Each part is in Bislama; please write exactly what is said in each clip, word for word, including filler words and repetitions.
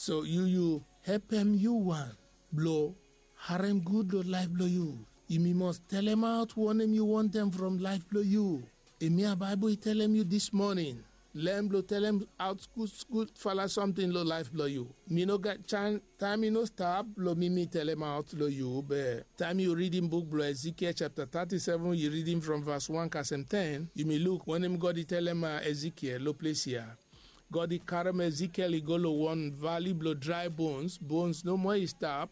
So yu yu hepem yu wan blo harem gud lo laef blo yu. Yumi mos telemaot wanem yu wantem from laef blo yu. Hemia Baebol i telem yu dis moning, len blo telemaot gudgud fala samting lo laef blo yu. Mi no gat taem i no stap blo mi mi telemaot lo yu, be taem yu ridim buk blo Ezekiel japta tati seven, yu ridim from vas wan kasem ten, yumi luk wanem God i telem Ezekiel lo ples ya. God i karem Ezekiel i go lo wan vali blo drae bons. Bons nomo i stap,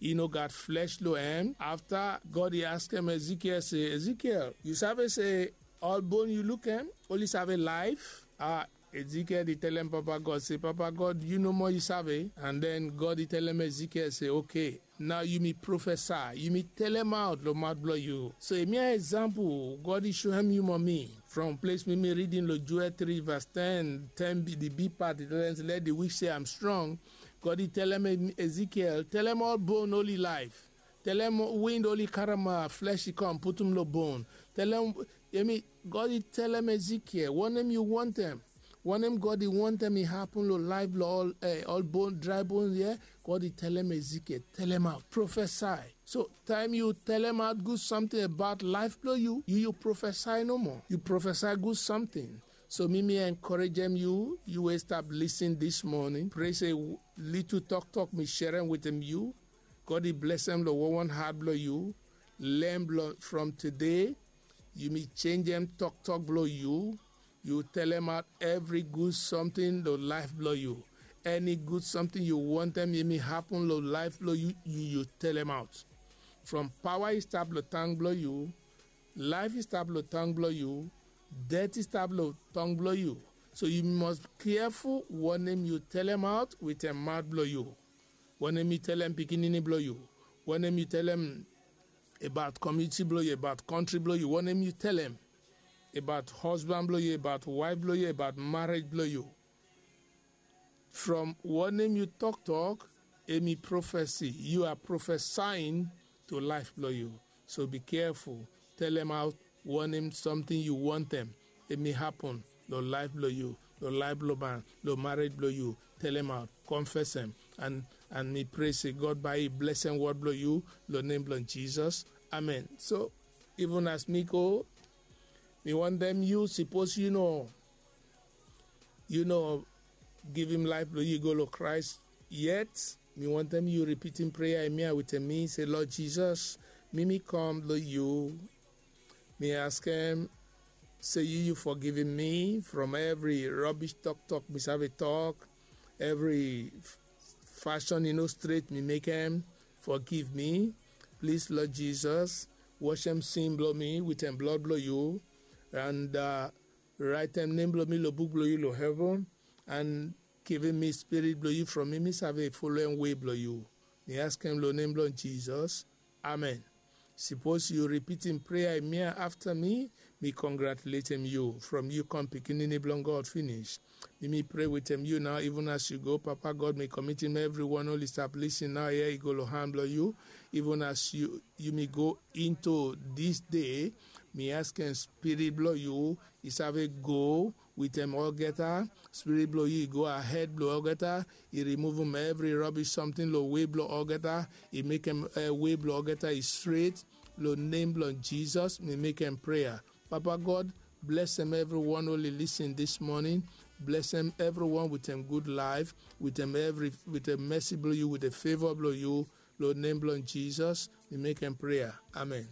i no gat flesh lo hem. Afta God i askem Ezekiel se, Ezekiel, yu save se ol bon yu lukem oli save laef? A, Ezekiel i telem Papa God se, Papa God, yu nomo yu save. An den God i telem Ezekiel se, oke, nao yumi profesae, yumi telemaot lo maot blo yu. So hemia eksampol God i soem yu mo mi from ples mi mi ridim lo Joel tri vas ten, ten bi di big pat i telem se, let di weak say I'm strong. God i telem Ezekiel, telem ol bon oli laef. Telem wind oli karem flesh i kam putum lo bon. Telem, hemi God i telem Ezekiel wanem yu wantem. Wanem God i wantem i hapun lo laef blo ol, eh, ol bon, drae bon ya. God i telem Ezekiel, telemaot, profesae. So taem yu telemaot gud samting abaot laef blo yu, yu yu profesae nomo. Yu profesae gud samting. So mi mi enkorejem yu, yu we stap lisin dis moning, pray se litu toktok mi serem wetem yu, God i blesem lo wanwan hat blo yu. Len blo from tede, yumi jenjem toktok blo yu. Yu telemaot evri gud samting lo laef blo yu. Eni gud samting yu wantem hemi hapun lo laef blo yu, yu yu telemaot. From paoa i stap lo tang blo yu, laef i stap lo tang blo yu, det i stap lo tang blo yu. So yu mos keaful wanem yu telemaot wetem maot blo yu. Wanem yu telem pikinini blo yu, wanem yu telem abaot komuniti blo yu, abaot kontri blo yu, wanem yu telem abaot hosban blo yu, abaot waef blo yu, abaot marej blo yu. From wanem yu toktok, hemi profesi, yu a profesaing to laef blo yu. So bi keaful, telemaot wanem samting yu wantem hemi hapun lo laef blo yu, lo laef blo man, lo marej blo yu. Telemaot, konfesem, an, an mi pray se God bae i blesem wod blo yu lo nem blo Jisas. Amen. So, even as mi go, mi wantem yu, sipos yu no, yu no givim laef blo yu go lo Kraes yet, mi wantem yu ripitim prea ya wetem mi, se, Lord Jisas, mi mi kam lo yu. Mi askem se yu yu fogivim mi from evri robish toktok mi save tok, evri fasin i no stret mi mekem. Fogiv mi, plis, Lord Jisas. Wasem sin blo mi wetem blod blo yu, an, uh, raetem nem blo mi lo buk blo yu lo heven, an givim mi Spirit blo yu from mi mi save folem wei blo yu. Mi askem lo nem blo Jisas. Amen. Sipos yu ripitim prea ya afta mi, mi kongratuletem yu from yu kam pikinini blo God finis. Mi mi pray wetem yu nao, even as yu go, Papa God, mi komitim evriwan oli stap lisin nao ya i go lo han blo yu. Even as yu, yumi go into dis dei, mi askem Spirit blo yu i save go wetem olgeta. Spirit blo yu i go ahed blo olgeta, i rimuvum evri robish samting lo wei blo olgeta, i mekem, eh, wei blo olgeta i stret. Lo nem blo Jisas mi mekem prea. Papa God, blesem evriwan oli lisin dis moning. Blesem evriwan wetem gud laef, wetem evri, wetem mesi blo yu, wetem feva blo yu. Lo nem blo Jisas mi mekem prea. Amen.